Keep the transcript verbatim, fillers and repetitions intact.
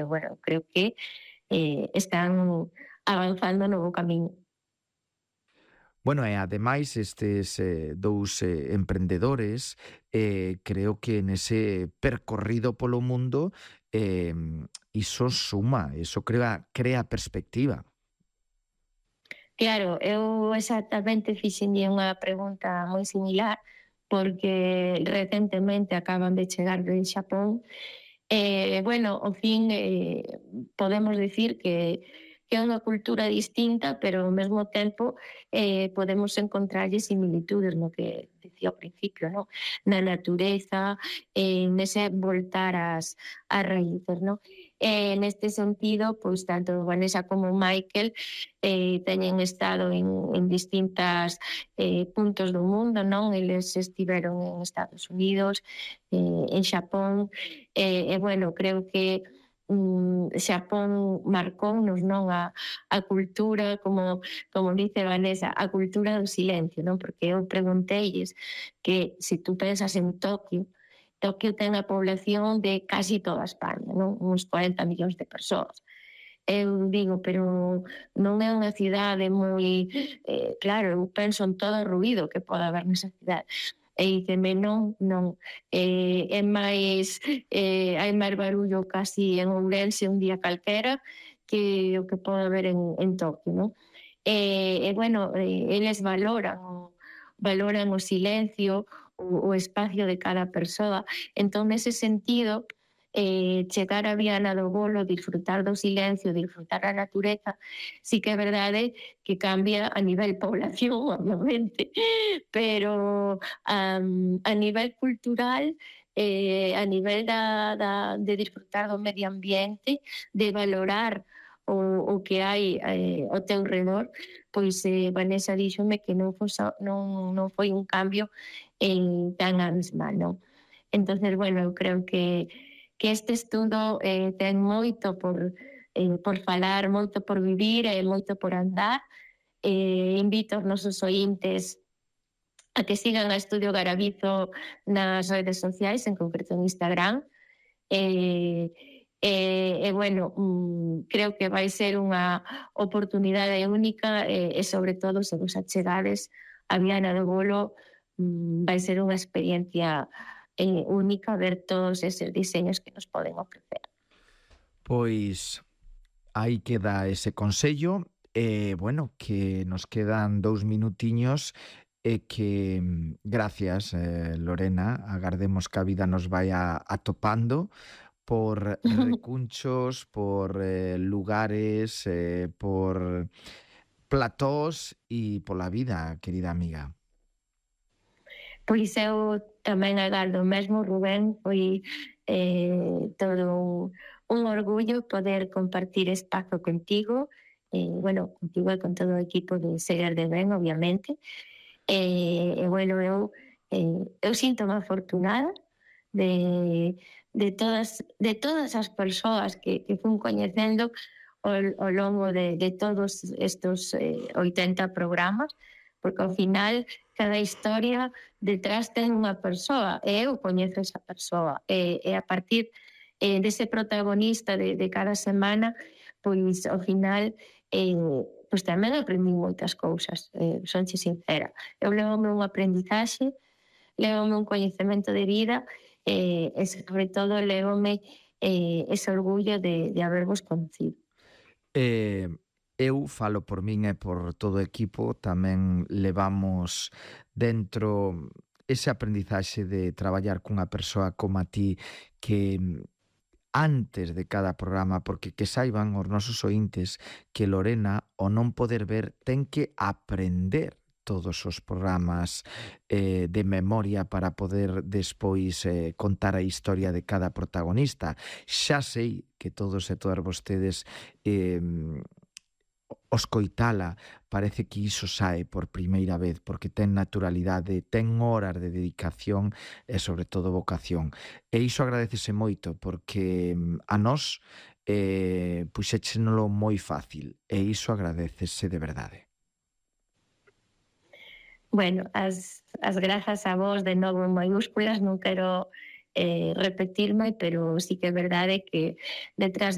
bueno, creo que eh, están avanzando no bo camiño. Bueno, e ademais estes eh, dous eh, emprendedores eh, creo que nese percorrido polo mundo eh, iso suma, iso crea, crea perspectiva. Claro, eu exactamente fixenlle unha pregunta moi similar, porque recentemente acaban de chegar de Xapón. E, bueno, ao fin, eh, podemos dicir que que é unha cultura distinta, pero ao mesmo tempo eh, podemos encontrarlle similitudes no que dicía ao principio, no? Na natureza, eh, nese voltar ás, ás raíces, no? E neste sentido, pois tanto Vanessa como Michael eh, teñen estado en, en distintas eh, puntos do mundo, non? Eles estiveron en Estados Unidos, eh, en Xapón, e, eh, bueno, creo que mm, Xapón marcounos, non, a, a cultura, como, como dice Vanessa, a cultura do silencio, non? Porque eu pregunteilles que se tú pensas en Tokio, Tokio ten a población de casi toda España, non? Uns cuarenta millóns de persoas. Eu digo, pero non é unha cidade moi... Eh, claro, eu penso en todo o ruído que pode haber nesa cidade. E diceme, non, non, eh, é máis, eh, hai máis barullo casi en Ourense un día calquera que o que pode haber en, en Tokio, non? E, e bueno, eh, eles valoran o, valoran o silencio, o, o espacio de cada persoa. Entón, nese sentido, eh, chegar a Viana do Bolo, disfrutar do silencio, disfrutar a natureza, sí que é verdade que cambia a nivel población, obviamente, pero um, a nivel cultural, eh, a nivel da, da, de disfrutar do medio ambiente, de valorar o, o que hai eh, ao teu redor, pois eh, Vanessa díxome que non, fosa, non, non foi un cambio en tan abismal, non? Entonces, bueno, eu creo que, que este estudo eh, ten moito por, eh, por falar, moito por vivir e moito por andar. Eh, invito aos nosos ointes a que sigan a Estudio Garabizo nas redes sociais, en concreto en Instagram. E, e, e bueno, mm, creo que vai ser unha oportunidade única e, e sobre todo, se vos achegades a Viana do Bolo, mm, vai ser unha experiencia eh, única ver todos eses diseños que nos poden ofrecer. Pois aí queda ese consello e, bueno, que nos quedan dous minutiños e que gracias, eh, Lorena, agardemos que a vida nos vaya atopando por recunchos, por eh, lugares, eh, por platós e pola vida, querida amiga. Pois eu tamén agardo mesmo, Rubén, foi eh, todo un, un orgullo poder compartir espazo contigo, eh, bueno, contigo e con todo o equipo de Seguir de Ben, obviamente. E, e bueno, eu, eh, eu sinto-me afortunada de, de, todas, de todas as persoas que, que fun coñecendo ao, ao longo de, de todos estes eh, oitenta programas, porque ao final cada historia detrás ten unha persoa e eu coñezo esa persoa e, e a partir eh, dese protagonista de, de cada semana, pois ao final eh, pois tamén aprendí moitas cousas, eh, sonche sincera. Eu levome un aprendizaxe, levome un coñecemento de vida eh, e sobre todo levome eh, ese orgullo de, de habervos conocido. Eh, eu falo por min e por todo o equipo, tamén levamos dentro ese aprendizaxe de traballar cunha persoa como a ti que antes de cada programa, porque que saiban os nosos ointes que Lorena, o non poder ver, ten que aprender todos os programas eh, de memoria para poder despois eh, contar a historia de cada protagonista. Xa sei que todos e todas vostedes eh, os coitala, parece que iso sae por primeira vez, porque ten naturalidade, ten horas de dedicación e sobre todo vocación. E iso agradecese moito, porque a nós eh, puxéchenolo moi fácil, e iso agradecese de verdade. Bueno, as, as grazas a vos de novo en maiúsculas, non quero eh, repetirme, pero sí que é verdade que detrás de